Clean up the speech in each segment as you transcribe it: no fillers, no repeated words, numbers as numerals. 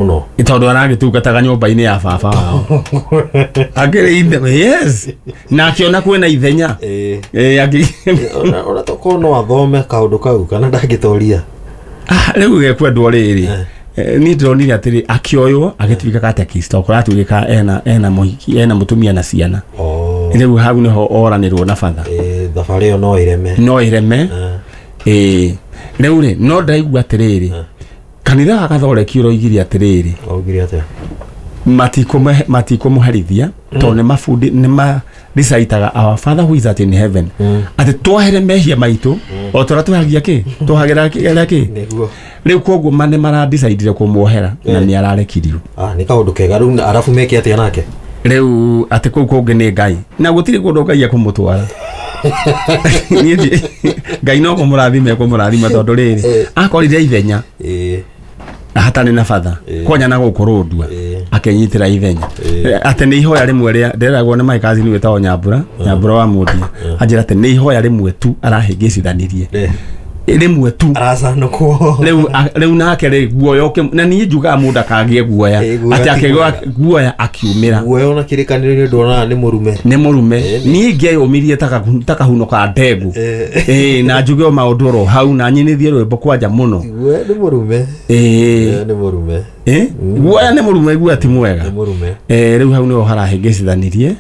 Mũno. Tondũ aragĩtungataga nyũmba-inĩ ya baba wao akĩrĩ ithe, yes, na akĩona kwĩna ithenya. Ona tokorwo no athome kaũndũ kau kana ndangĩtoria. Ah, rĩu gekwendwo rĩrĩ, niĩ ndĩronire atĩrĩ akĩoywo agĩtuĩka katekista kũratuĩka ena mũhiki, ena mũtumia na ciana. Rĩu hau nĩho oranĩrwo na batha. Thabarĩ ĩyo no ĩreme. No ĩreme. Rĩu rĩ, no ndaigua atĩrĩrĩ, kanitha wa Gathoreki ũroigire atĩrĩrĩ. Augire atĩa? Matikũmũherithia tondũ nĩ mabundi nĩ ma recitaga "Our Father who is at in heaven", atĩ twahere mehia maitũ o tũrĩa twehagia kĩ twahagĩra kĩ. Nĩguo. Rĩu koguo ma nĩ maradecidire kũmuohera na nĩ ararekirio. Ah, nĩ kaũndũ kega. Rĩu arabu meke atĩa nake? Rĩu atĩ kũu kũngĩ nĩ Ngai na gũtirĩ kũndũ Ngai ekũmũtwara. Niĩ Ngai no kũmũrathima ekũmũrathima tondũ rĩrĩ akorire ithenya hatarĩ na batha kwanya na gũkũ rũndua akĩnyitĩra ithenya, atĩ nĩ ihoya rĩmwe rĩa ndĩragwo nĩ my cousin wĩtagwo Nyambura, Nyambura wa Mũndia, anjĩra atĩ nĩ ihoya rĩmwe tu arahĩngĩcithanirie, rĩmwe tu. Aracanũkwo. Rĩu nake rĩ guoya na niĩ njugaga mũndũ akagĩe guoya. Guoya atĩ ti akĩgĩa mwega. Guoya akiumĩra. Guoya ona kĩrĩkanĩro-inĩ nduonaga nĩ mũrume. Nĩ mũrume. Niĩ ingĩeyũmirie ta kahuno ka ndengũ, na njuge o maũndũ oro hau na nyinithie rwĩmbo kwanja mũno. Guoya nĩ mũrume. Guoya nĩ mũrume. Guoya nĩ mũrume, guoya ti mwega. Nĩ mũrume. Rĩu hau nĩho harahĩngĩcithanirie.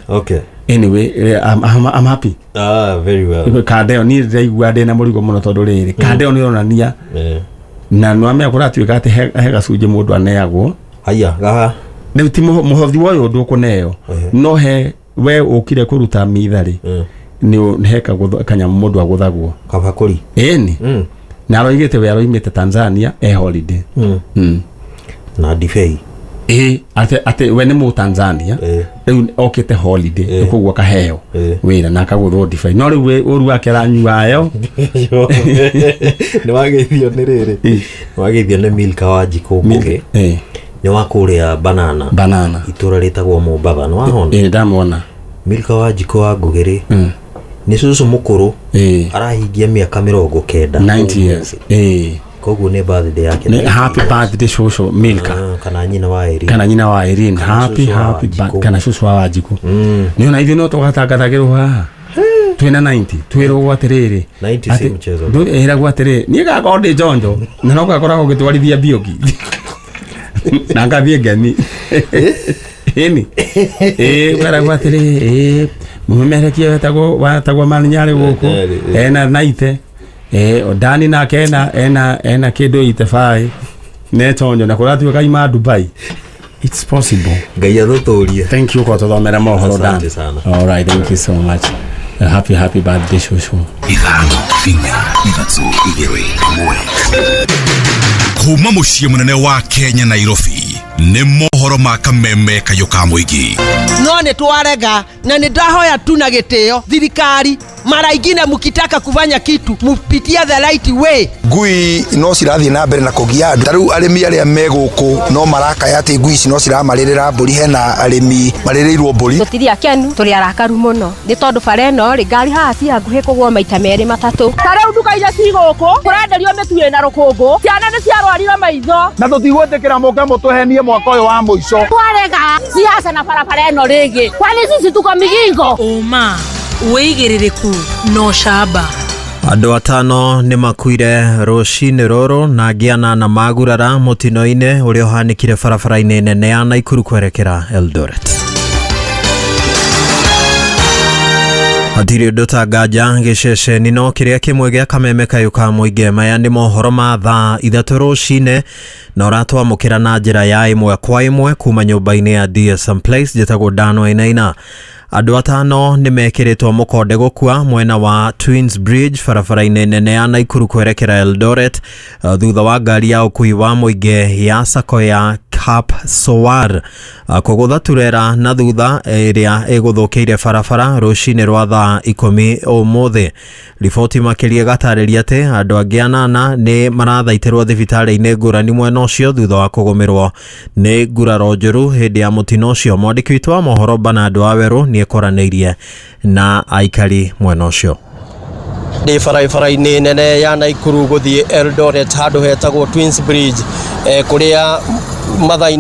Anyway, I'm happy. Ah, very well. Kanda ĩyo niĩ ndĩraigua ndĩna mũrigo mũno tondũ rĩrĩ kanda ĩyo nĩ ĩronania na nĩwamenya kũratuĩka atĩ he gacunjĩ mũndũ aneagwo. Haya gaha. Rĩu ti mũhothi wa ũyũ ndũkũneo, no he we ũkire kũruta mitha rĩ, nĩ he kanyamũ mũndũ agũthagwo. Kabakũri. Ĩni na aroigĩte we aroimĩte Tanzania e holiday. Na ndibei. Ĩ, atĩ we nĩ mũ Tanzania, rĩu okĩte holiday, koguo akaheo wĩra na akagũthwo ndibei, no rĩu ũru wake aranyuayo. Nĩ wageithio nĩ rĩrĩ, nĩ wageithio nĩ Milka wa Njikũ Ngũgĩ. Nĩ wa kũrĩa Banana. Banana. Itũra rĩtagwo Mombatha, nĩ wahona? Ĩ, ndamwona. Milka wa Njikũ wa Ngũgĩ rĩ, nĩ cũcũ mũkũrũ, arahingia mĩaka 90. 90 years. Koguo nĩ birthday yake. Nĩ happy birthday, cũcũ Milka. Ah, kana nyina wa Irene. Kana nyina wa Irene. Kana Happy cũcũ wa happy Wanjikũ. kana cũcũ wa Wanjikũ. Nĩ ona ithuĩ no tũgatangathagĩrwo haha twĩna 90 twĩrwo atĩrĩrĩ. 90 si mchezo. Ĩragwo atĩrĩ, niĩ gakorwo ndĩ njonjo na no gakoragwo ngĩtwarithia mbiũki na ngathiĩ ngemi ĩni ĩ ũkaragwo atĩrĩ, ĩ mũmemerekia wetagwo Maninyarĩ gũkũ ena naite Dani nake ena kĩndũ 85 netonjo na kũratuĩka ima Dubai. It's possible. Ngai athũtũrie. Thank you kwa tũthomera mohoro, Dan. Asante sana. All right, thank you so much. Happy happy birthday, shosho. 5, 4, 3, 2, 1. Kuma mũciĩ mũnene wa Kenya, Nairobi, nĩ mohoro ma kameme kayũ ka mũingĩ. No nĩ twarega na nĩ ndahoya tu na gĩtĩo thirikari, mara ingine mkitaka kufanya kitu mupitie the right way. Ngui no cirathiĩ na mbere na kũgia andũ. Ta rĩu arĩmi arĩa me gũkũ no marakaya atĩ ngui ici no ciramarĩrĩra mbũri. Hena arĩmi marĩrĩirwo mbũri. Tũtirĩ akenu, tũrĩ arakaru mũno nĩ tondũ bara ĩno rĩ, ngari haha ci hakuhĩ kũgwo maita merĩ matatũ. Ta rĩu nduka iria ci gũkũ kũrenderio mĩtu ĩna rũkũngũ, ciana nĩ ciarwarire maitho. Na tũtigwĩtĩkĩra mũke mũtũhenie mwaka ũyũ wa mũico. Twarega siasa na barabara ĩno rĩngĩ, kwani sisi tuko migingo? Ũma, wĩigĩrĩrĩku na ũcamba. Andũ atano nĩ makuire rũcinĩ rũrũ na angĩ anana magurara mũtino-inĩ ũrĩa ũhanĩkire barabara-inĩ nene ya Naikuru kwerekera Eldoret. Hatirĩ ũndũ ta nganja gĩceceni no kĩrĩa kĩmwe gĩa kameme kayũ ka mũingĩ. Maya nĩ mohoro ma thaa 3 rũcinĩ na ũratwamũkĩra na njĩra ya ĩmwe kwa ĩmwe kuma nyũmba-inĩ ya DSM Place. Njĩtagwo Dan Wainaina. Andũ atano nĩ mekĩrĩtwo mũkonde gũkua mwena wa Twins Bridge barabara-inĩ nene ya Naikuru kwerekera Eldoret, thutha wa ngari ya ũkui wa mũingĩ ya sako ya Cap Sowar kũgũtha turera na thutha ĩrĩa ĩgũthũkĩire barabara rũcinĩ rwa thaa 10 ũmũthĩ. Riboti makĩria ĩgatarĩria atĩ andũ angĩ anana nĩ marathaitĩrwo thibitarĩ-inĩ ngũrani mwena ũcio thutha wa kũgũmĩrwo nĩ nguraro njũru hĩndĩ ya mũtino ũcio. Mwandĩki witũ wa mohoro Bernard Wawerũ nĩ ekoranĩirie na aikari mwena ũcio. Ndĩ barabara-inĩ nene ya Naikuru gũthiĩ Eldoret handũ hetagwo Twins Bridge, kũrĩa mathaa